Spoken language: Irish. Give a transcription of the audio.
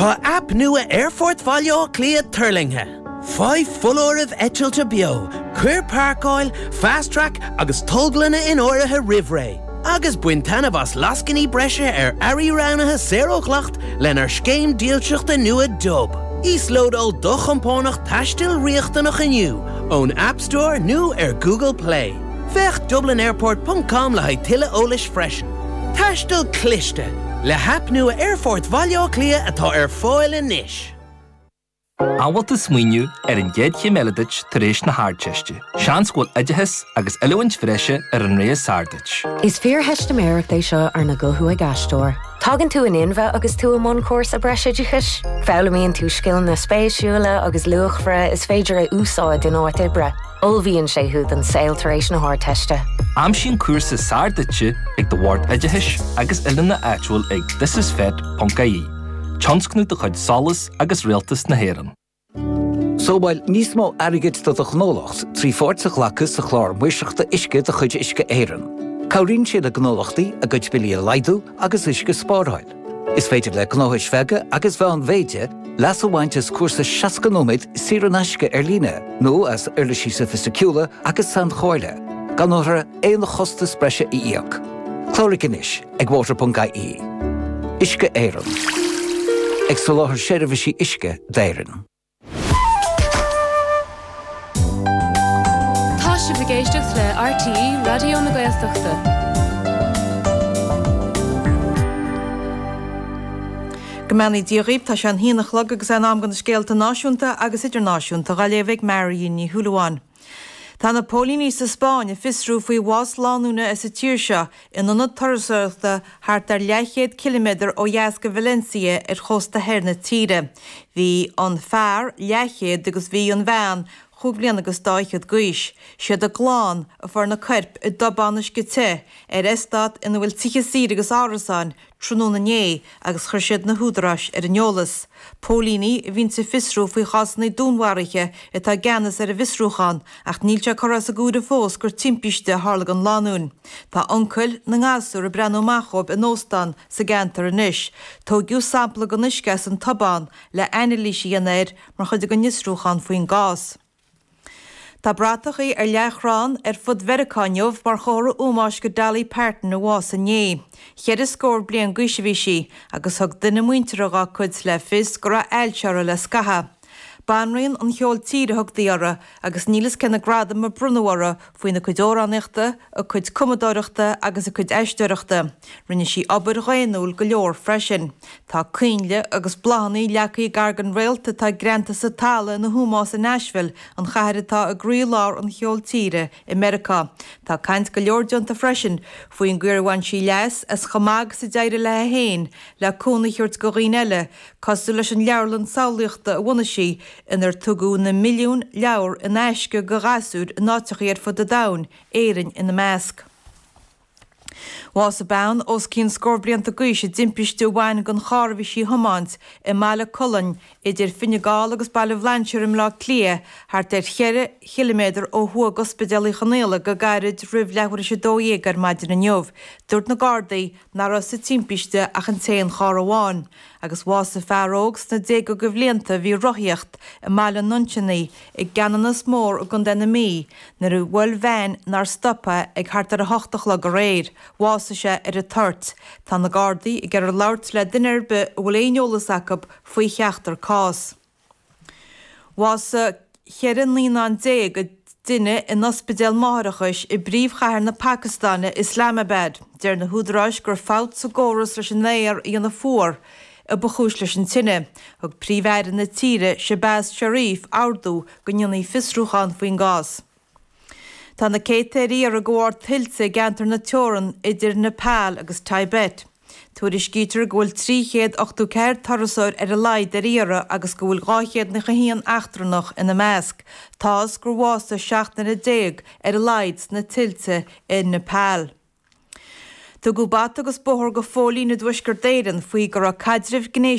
Tá aip nua Aerfort Bhaile Átha Cliath tuirlingthe. Faigh foláirimh eitilte beo, cuir páirceáil, Fast Track agus tolglanna in áirithe roimh ré, agus bain taitneamh as lascainí breise ar earraí roghnaithe saor ó dhleacht lenár scéim dílseachta nua Dub. Íoslódáil do chompánach taistil riachtanach inniu ón App Store nó ar Google Play. Féach dublinairport ponc com le haghaidh tuilleadh eolais freisin. Taisteal cliste! Le haip nua Aerfort Bhaile Átha Cliath atá ar fáil anois. An bhfuil tú ag smaoineamh ar an gcéad chéim eile duit tar éis na hArdteiste? Seans go bhfuil oideachas agus oiliúint bhreise ar an rogha is fearr duit. Is fíortheistiméireacht é seo arna guthú ag aisteoir. Tagann tú in inmhe agus tú i mbun cúrsa breisoideachais. Foghlaimíonn tú scileanna spéisiúla agus luachmhara is féidir a úsáid in áit oibre. Ullmhaíonn sé thú don saol tar éis na hArdteiste. Aimsigh an cúrsa is fearr duitse ag do Bhord Oideachais agus Oiliúna áitiúil ag thisisfet.ie, tionscnamh de chuid SOLAS agus Rialtas na hÉireann. Sábháil níos mó airgid do do ghnólacht trí pháirt a ghlacadh sa Chlár Maoirseachta Uisce de chuid Uisce Éireann. Cabhraíonn sé le gnólachtaí a gcuid billí a laghdú agus uisce a spáráil. Is féidir le gnóthais bheaga agus mheánmhéide leas a bhaint as cúrsa 60 nóiméad saor in aisce ar líne nó as uirlisí sofaisticiúla agus sainchomhairle, gan orthu aon chostas breise a íoc. Cláraigh anois ag water.ie. Uisce Éireann. Ag soláthar seirbhísí uisce d'Éirinn. Tá sibh ag éisteacht le RTÉ Raidió na Gaeltachta. Go mbeannaí Dia dhaoibh, tá sé an haon a chlog agus é in am do na scéalta náisiúnta agus idirnáisiúnta dhá léamh ag Marion Ní Shúilleabháin. Tá na póilíní sa Spáinn ag fiosrú faoi bhás lánúine as an tír seo in ionad turasóireachta thart ar leathchéad ciliméadar ó dheas de Valencia ar chósta thoir na tíre. Bhí an fear leathchéad agus bhí an bhean chúig bhliana agus dá fhichead d'aois. Siad a gclann a fuair na coirp i dtobán uisce te ar eastát ina bhfuil tithe saoire agus árasáin tráthnóna inné agus chuir siad na húdaráis ar an eolas. Póilíní a bhíonns ag fiosrú faoi chásanna dúnmharaithe atá i gceannas ar an bhfiosrúchán ach níl sé curtha as an gcomhaireamh fós gur timpiste a tharla don lánúin. Tá uncail na ngasúr ag breathnú amach dhóibh in óstán sa gceantar anois. Tóigeadh sampla den uisce as an tobán le anailís a dhéanamh air mar chuid den fhiosrúchán faoin gcás. Tá bratachaí ar leathchrann ar fud Mheiriceá inniu mar chomhartha ómóis go Dolly Parton a bhásaigh inné. Cheithre scór bliain d'aois a bhí sí agus thug duine muinteartha dhá cuid le fios go raibh ailse uirthi le scaitheamh. Banríon an cheoil tíre a thugtaí uirthi agus níl fhios cé na gradaim a bronnadh uirthi faoina cuid amhránaíochta, a cuid cumadóireachta agus a cuid aisteoireachta. Rinne sí obair dhaonnúil go leor freisin. Tá coinnle agus bláthanna leagtha gar don réalt atá greanta sa talamh ina hómós i Nashville, an chathair atá i gcroílár an cheoil tíre i Meiriceá. Tá caint go leor déanta freisin faoin gcaoi ar bhain sí leas as chomh maith agus a d'éirigh léi féin le cúnamh a thabhairt do dhaoine eile, cosúil leis an leabharlann samhlaíochta a bhunaigh sí, inar tugadh na milliúin leabhar in aisce do ghasúir in áiteachaí ar fud an domhain, Éirinn ina measc. Bhásaigh bean os cionn scór blianta d'aois i dtimpiste a bhain den charr a bhí sí a thiomáint i mBaile Colainn idir Fine Gall agus Baile Bhlainséir i mBleá Cliath, thart ar cheithre chiliméadar ó thuaidh d'Ospidéal Uí Chonghaile go gairid roimh leathuair théis 12 ar maidin inniu. Dúirt na Gardaí nach raibh sa timpiste ach an t-aon charr amháin. Agus bhásaigh fear óg sna déaga de bhlianta a bhí ag rothaíocht i mBaile an Nuinseannaigh i gCeanannas Mór i gContae na Mí nuair a bhuail veain nár stop é ag thart ar 8 a chlog aréir. Bhásaigh sé ar an toirt. Tá na Gardaí ag iarraidh labhairt le duine ar bith a bhfuil aon eolas acu faoi cheachtar cás. Bhásaigh 14 naíonán i dtine in ospidéal máithreachais i bpríomhchathair na Pacastáine, Islamabad. Deir na húdaráis gur fabht sa gcóras leis an aer a dhéanamh fuar a ba chúis leis an tine. Thug Príomh-Aire na tíre, Shehbaz Sharif, ordú go ndéanfaí fiosrúchán faoin gcás. Tá na céadta ar iarraidh de bharr tuilte i gceantar na teorann idir Nepal agus Tibet. Tuairiscítear go bhfuil 384 turasóir ar a laghad ar iarraidh agus go bhfuil 291 eachtrannach ina measc. Táthas gur bhásaigh 17 nduine ar a laghad sna tuilte i Nepal. Tugadh bata agus bóthar go phóilín i dTuaisceart Éireann faoi go raibh caidreamh gnéis.